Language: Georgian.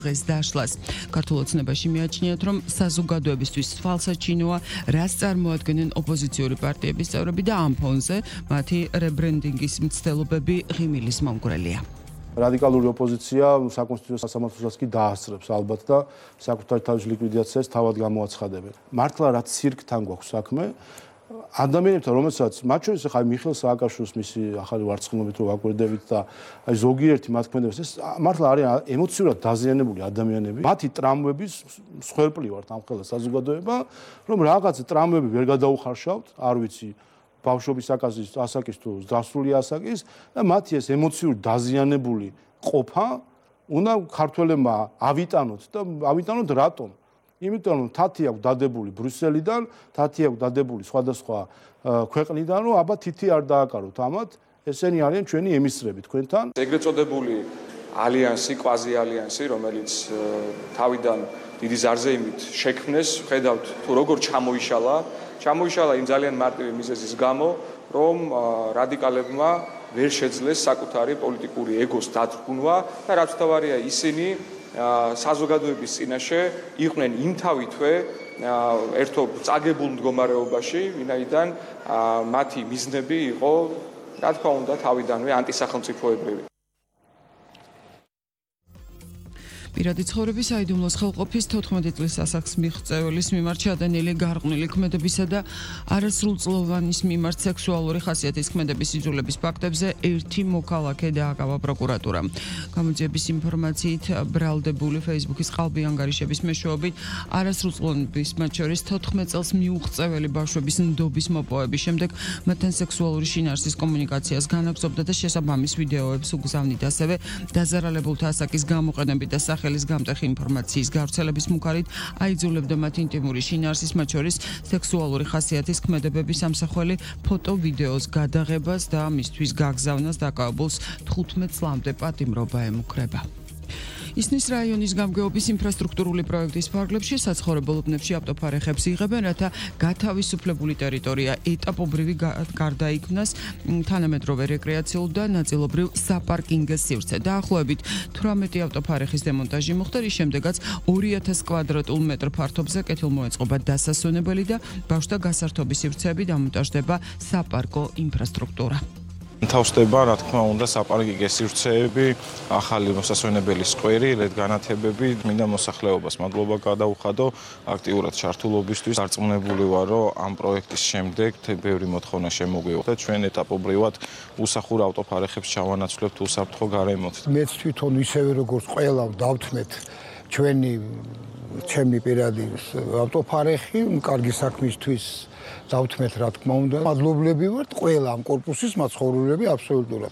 დღეს დაშლას. ქართულ ოცნებაში მიაჩნიათ, რომ საზოგადოებისთვის თვალსაჩინოა, რას წარმოადგენენ ოპოზიციური პარტიების წევრები და ამ ფონზე მათი რებრენდინგის მცდელობები ღიმილის მომგვრელია. რადიკალური ოპოზიცია საკონსტიტუციო სასამართლოსაც კი დაასწრებს ალბათ და საკუთარი თავის ლიკვიდაციას თავად გამოაცხადებენ. მართლა რაც ცირკთან გვაქვს საქმე, ადამიანებთან, რომელსაც მათ შორის ახლა მიხეილ სააკაშვილის მისი ახალი ვარცხნობით რო ვაკვირდებით და აი ზოგიერთი მათქმედებს ეს მართლა არიან ემოციურად დაზიანებული ადამიანები. მათი ტრამვების მსხვერპლი ვართ ამ ხელა საზოგადოება, რომ რაღაც ტრამვები ვერ გადაუხარშავთ, არ ვიცი ბავშვობის ასაკის თუ დასრული ასაკის და მათი ეს ემოციური დაზიანებული ყოფა უნდა ქართველებმა ავიტანოთ და ავიტანოთ რატომ? იმიტომ რომ თათი აქვს დადებული ბრიუსელიდან, თათი აქვს დადებული სხვადასხვა ქვეყნიდან, რომ აბა თითი არ დააკაროთ ამათ, ესენი არიან ჩვენი ემისრები თქვენთან. ეგრეთ წოდებული ალიანსი, კვაზი ალიანსი, რომელიც თავიდან დიდი ზარზეიმით შექმნეს, ხედავთ თუ როგორ ჩამოიშალა იმ ძალიან მარტივი მიზეზის გამო, რომ რადიკალებმა ვერ შეძლეს საკუთარი პოლიტიკური ეგოს დათრგუნვა და რაც თავარია ისინი საზოგადოების წინაშე იყვნენ იმთავითვე ერთობ წაგებულ მდგომარეობაში, ვინაიდან მათი მიზნები იყო, რა თქმა უნდა, თავიდანვე ანტისახელმწიფოებრივი. პირადი ცხოვრების საიდუმლოს ხელყოფის 14 წლის ასაკს მიღწეველის მიმართ შადენილი გარყვნილი ქმედებისა და არასრულწლოვანის მიმართ სექსუალური ხასიათის ქმედების იძულების ფაქტებზე ერთი მოქალაქე დააკავა პროკურატურამ. გამოძიების ინფორმაციით ბრალდებული Facebook-ის ყალბი ანგარიშების მეშვეობით არასრულწლოვანების მათ შორის 14 წელს მიუღწეველი ბავშვების ნდობის მოპოვების შემდეგ მათთან სექსუალური შინაარსის კომუნიკაციას განაგრძობდა და შესაბამის ვიდეოებს უგზავნიდა, ასევე დაზარალებულთა ასაკის გამოყენებით და ხელის გამტეხი ინფორმაციის გავრცელების მუქარით აიძულებდა მათ ინტიმური შინაარსის, მათ შორის სექსუალური ხასიათის ქმედებების ამსახველი ფოტო-ვიდეოს გადაღებას და მისთვის გაგზავნას დაკავებულს 15 წლამდე პატიმრობა ემუქრება. ისნის რაიონის გამგეობის ინფრასტრუქტურული პროექტის ფარგლებში საცხოვრებელ უბნებში ავტოფარეხებს იღებენ, რათა გათავისუფლებული ტერიტორია ეტაპობრივი გარდაიქმნას თანამედროვე რეკრეაციულ და ნაწილობრივ საპარკინგო სივრცე. დაახლოებით 18 ავტოფარეხის დემონტაჟი მოხდა, რის შემდეგაც 2000 კვადრატულ მეტრ ფართობზე კეთილმოეწყობა დასასვენებელი და ბავშვთა გასართობის სივრცეები დამონტაჟდება საპარკო ინფრასტრუქტურა. თავსდება, რა თქმა უნდა, საპარკინგო სივრცეები, ახალი მოსასვენებელი სკვერი, ლედ-განათებები, მინდა მოსახლეობას მადლობა გადაუხადო აქტიურად ჩართულობისთვის. დარწმუნებული ვარ, რომ ამ პროექტის შემდეგ ბევრი მოთხოვნა შემოგვივა და ჩვენ ეტაპობრივად უსახურ ავტოფარეხებს ჩავანაცვლებთ უსაფრთხო გარემოთ. მეც თვითონ ისევე როგორც ყველა დავთმეთ ჩემი პირადი ავტოფარეხი, კარგი საქმისთვის დავთმეთ, რა თქმა უნდა. მადლობლები ვართ ყველა ამ კორპუსის მაცხოვრებლები აბსოლუტურად.